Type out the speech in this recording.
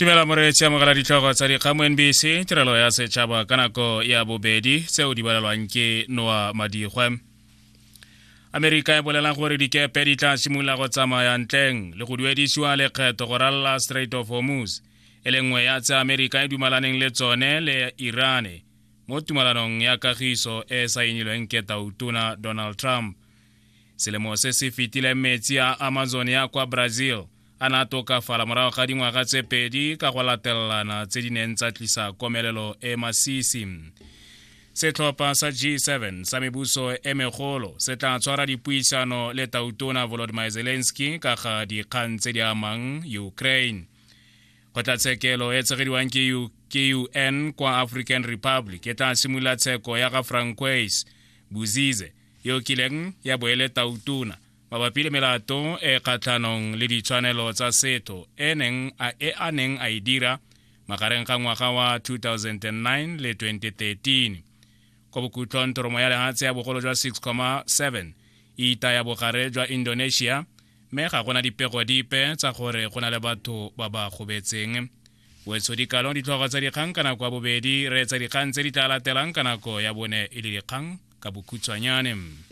Dumela moreetsi, amogela ditlhogo tsa dikgang mo NBC tirelo ya setšhaba ka nako ya bobedi tseo di balelwang ke Noa Madigwe. Amerika e bolela gore dikepe di tla simolola go tsamaya ntleng le go duedisiwa lekgetho go ralala Strait of Hormuz, e le nngwe ya tse Amerika e dumalaneng le tsone le Irane mo tumalanong ya kagiso e e saenilweng ke tautona Donald Trump. Selemo se se fetileng metsi a Amazon ya kwa Brazil a ne a tokafala morago ga dingwaga tse pedi ka go latelelana tse di neng tsa tlisa komelelo e masisi. Setlhopha sa G7 sa mebuso e megolo se tla tshwara dipuisano le tautona Volodymyr Zelensky ka ga dikgang tse di amang Ukraine. Kgotlatshekelo e tshegediwang ke UN kwa African Republic e tla simolola tsheko ya ga Francois Bozize yo kileng ya bo e le tautona mabapi le melato e kgatlhanong le ditshwanelo tsa setho e neng a e a neng a e dira magareng ga ngwaga wa 2009 le 2013. Kwa bokhutlong thoromo ya lehatshe ya bogolo jwa 6,7 e itaya bogare jwa Indonesia mme ga gona dipego dipe tsa gore go na le batho ba ba gobetseng. Wetsho dikalo ditlhogo tsa dikgang ka nako ya bobedi, reetsa dikgang tse di tla latelang ka nako ya bone e le dikgang ka bokhutshwanyane.